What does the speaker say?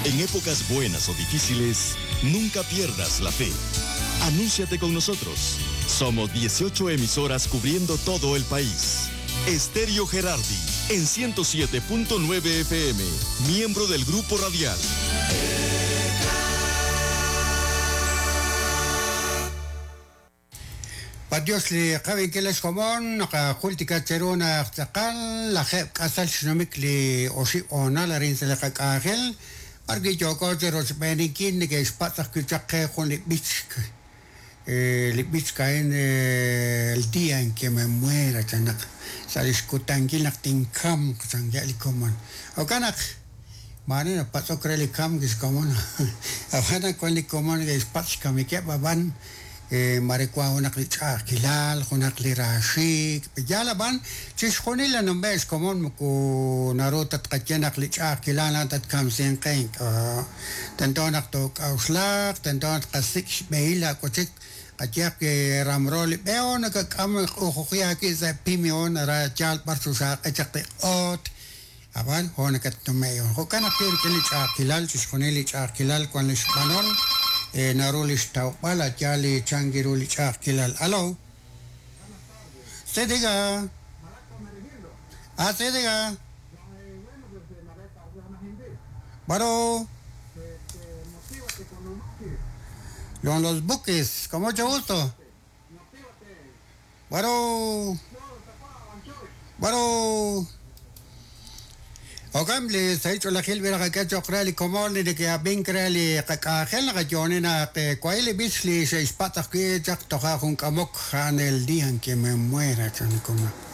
En épocas buenas o difíciles, nunca pierdas la fe. Anúnciate con nosotros. Somos 18 emisoras cubriendo todo el país. Estéreo Gerardi, en 107.9 FM, miembro del Grupo Radial. B'anyox li qab'inkil ex komon, naqajultika cheru naq tz'aqal lajeeb' k'asal xnumik li oxib' hoonal arin sa' li qak'anjel, b'ar wi' yooko chi rochb'eeninkil neke'xpatz' ajwi' chaq qe jun li b'ich, li b'ich a'in El día en que me muera chan naq sa' li xkutankil naq tinkamq chankeb' li komon. Jo'kan naq maare napatz'ok re li kamk li xkomon, ab'an wan li komon neke'xpatz' xkamikeb' ab'an Mare wank junaq li ch'a'ajkilal, junaq li raaxiik', yaal ab'an chixjunil li numbe' xkomon moko naru ta tqaye naq li ch'a'ajkilal a'an tatkamsinq qe, ink'a'. Tento naq took'a'uxlaq, tento naq tqasik' xb'ehil laawachik, qayehaq wi ramro li b'e o nakak'am q'ujuji aawib' sa' pimion ara yaal b'ar chuxaaq'e chaq li q'oot, Ab'an jo' nakatnume'k. Jo'kan ajwi' rik'in li ch'a'ajkilal, chixjunil li ch'a'ajkilal wan lix b'anol, naru lix tawb'al a' yaal li chan ru li ch'a'ajkilal. Alo. Sí, diga. Ah, sí, diga. Bueno. Con los buques, con mucho gusto. Bueno. Bueno. Jo'kan li sahil ch'oolejil b'i naqak'e cho'q re li komon li neke'ab'ink re li qak'anjel naqayo'oni naq wahi' li b'ich li xe'xpatz' ajwi' chaq toja' jun k'amok a'an El día en que me muera chan li komon.